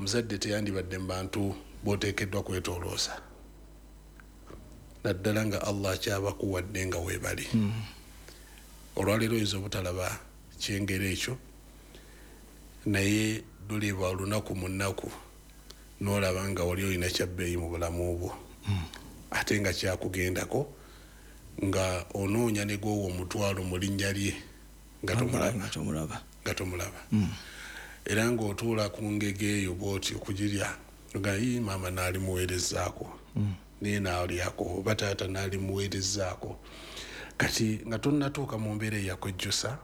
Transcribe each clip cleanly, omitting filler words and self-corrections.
Omuzadde teyandibadde mu bantu b'oteekeddwa kwetoolooza, naddala nga Allah akyabakuwadde nga weebali. Olwaleero oyinza obutalaba kyengera ekyo, naye luliba olunaku mu nnaku n'olaba nga wali olina kyabbeeyi mu bulamu bwo, ate nga kyakugendako nga onoonya ne gwowa omutwalo mu linnya lye nga tomulaba. Era ng'otuula ku ngege eyo bw'oti okugirya nga yi maama n'alimuweerezaako, naye n'alyako, oba taata n'alimuweerezaako. Kati nga tonnatuuka mu mbeera eyakwejjusa,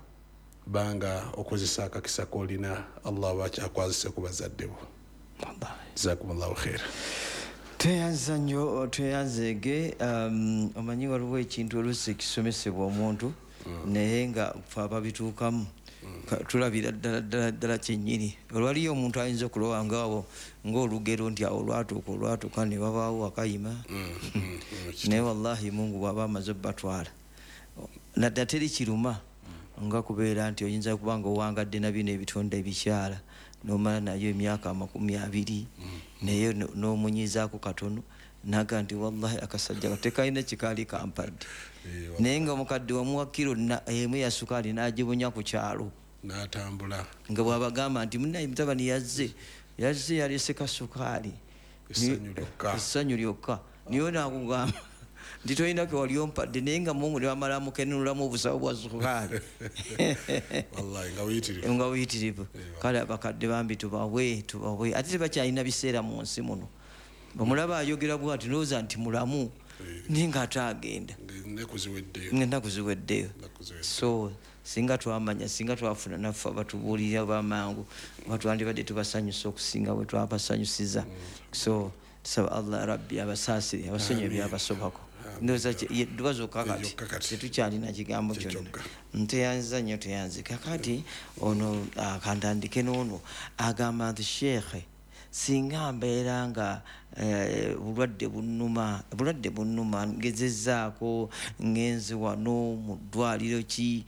banga okozesa akakisa k'olina Allah aba akyakwazise ku bazadde bo. Jazakumullahu khaira. Tweyanza nnyo, tweyanzeege. Omanyi waliwo ekintu oluusi ekisomesebwa omuntu, naye nga ffe ababituukamu tulabira ddala ddala ddala kyennyini. Olwaliyo omuntu ayinza okulowa ngaawo ng'olugero nti awo olwatuuka ne wabaawo akayima, naye wallahi Mungu bw'aba amaze obbatwala naddala teri kiruma nga kubeera nti oyinza kuba nga owangadde na bino ebitonde ebikyala n'omala nayo emyaka 20, naye n'omunyizaako katono naga nti wallahi akasajja tekalina kikaali kampadde, naye nga omukadde wamuwa kiro emu ya sukaali n'agibunya ku kyalo n'atambula, nga bw'abagamba nti munnaye mutabani yazze yaleese kasukaali, essanyu lyokka, niyo naakugamba nti tolina ke wali ompadde, naye nga Mungu ne bamala mukenunulamu obusawo bwa sukaali nga buyitirivu. Kale abakadde bambi tubawe, ate tebakyalina biseera mu nsi muno. Omulaba ayogera bw'ati ndowooza nti mulamu, naye ng'ate agenda ennaku ziweddeyo. So singa twamanya, singa twafuna naffe abatubuulirira bamangu, oba twandibadde tubasanyusa okusinga bwe twabasanyusiza. So tusaba Allah Rabbi abasaasire, abasonyiwe ebyabasobako. Ndowooza dduwa zokka kati tetukyalina kigambo kyonna. Nteyanziza nnyo, teyanzika. Kati ono kantandike n'ono agamba nti Sheikh, singa mbeera nga bulwadde bunnuma, ngezezzaako ngenze wano mu ddwaliro ki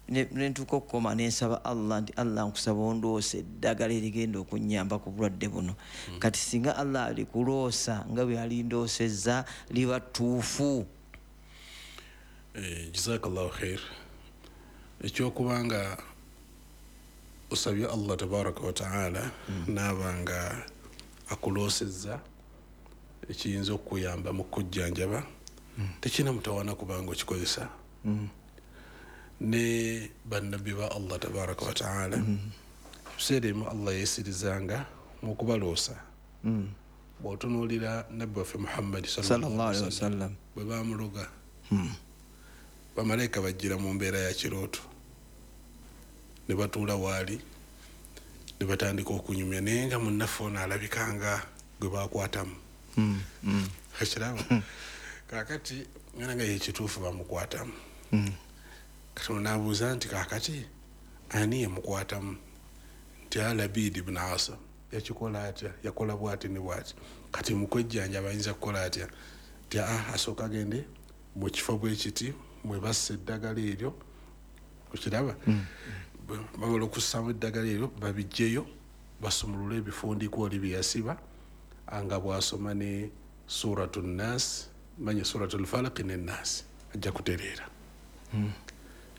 nentuuka okukoma nensaba Allah nti Allah nkusaba ondoose eddagala erigenda okunnyamba ku bulwadde buno. Kati singa Allah alikuloosa nga bwe yalindoosezza liba ttuufu. Jazakallahu khair. Ekyokubanga osabye Allah tabaraka wa taala n'aba nga akuloosezza ekiyinza okukuyamba mu kujjanjaba, tekirina mutawaana kubanga okikozesa. Ne bannabbi ba Allah tabaraka wa taala ebiseera ebimu Allah yeesirizanga mu kubaloosa. Bw'otunuulira nabbi waffe Muhammadi sallallahu alaihi wasallam bwe baamuloga, bamalayika bajjira mu mbeera ya kirooto ne batuula waali ne batandika okunyumya, naye nga munnaffe ono alabika nga gwe bakwatamu. Ekirabo kaakati ngana nga yekituufu bamukwatamu. Katonda n'abuuza nti kaakati ani yamukwatamu? Nti Labid ibn Asam. Yakikola atya? Yakola bw'ati ne bw'ati. Kati mu kwejjanjaba ayinza kukola atya? Nti asooka agende mu kifo bwe kiti mwe bassa eddagala eryo, okiraba? Bamala okussaamu eddagala eryo babiggyeyo basumulule ebifundikwa oli bye yasiba, nga bw'asoma ne Suratu Nnaasi, manye Suratu Falaq ne Nnaasi, ajja kutereera.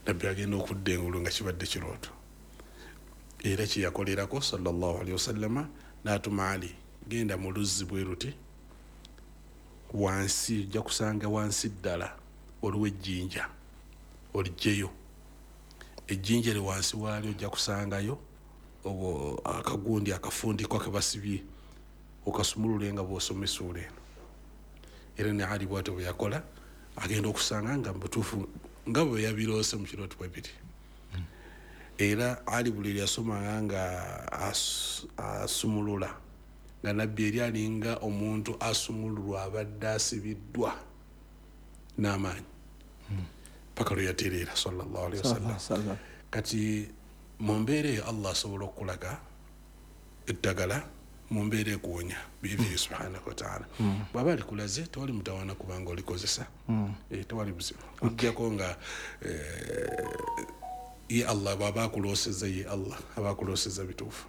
Nabbi agenda okudda engulu nga kibadde kirooto. Era kye yakolerako sallallahu alaihi wasallama n'atuma Ali, genda mu luzzi bwe luti wansi, ojja kusanga wansi ddala waliwo ejjinja, oliggyeyo. Ejjinja eri wansi waalyo ojja kusangayo obwo akagundi akafundikwa ke basibye, okasumulule nga bw'osoma essuula eno. Era ne Ali bw'atyo bwe yakola, agenda okusanga nga mu butuufu nga bwe yabiroose mu kirooto bwe biri. Era Ali buli lwe yasomanga nga asumulula, nga nabbi eri alinga omuntu asumululwa abadde asibiddwa n'amaanyi paka lwe yatereera sallallahu alaihi wasallam. Kati mu mbeera eyo Allah asobola okukulaga eddagala mu mbeera ekuwonya biidhini subhanahu wa taala. Bw'aba alikulaze tewali mutawaana kubanga olikozesa, tewali buzibu, okuggyako nga ye Allah bw'aba akuloosezza, ye Allah aba akuloosezza bituufu.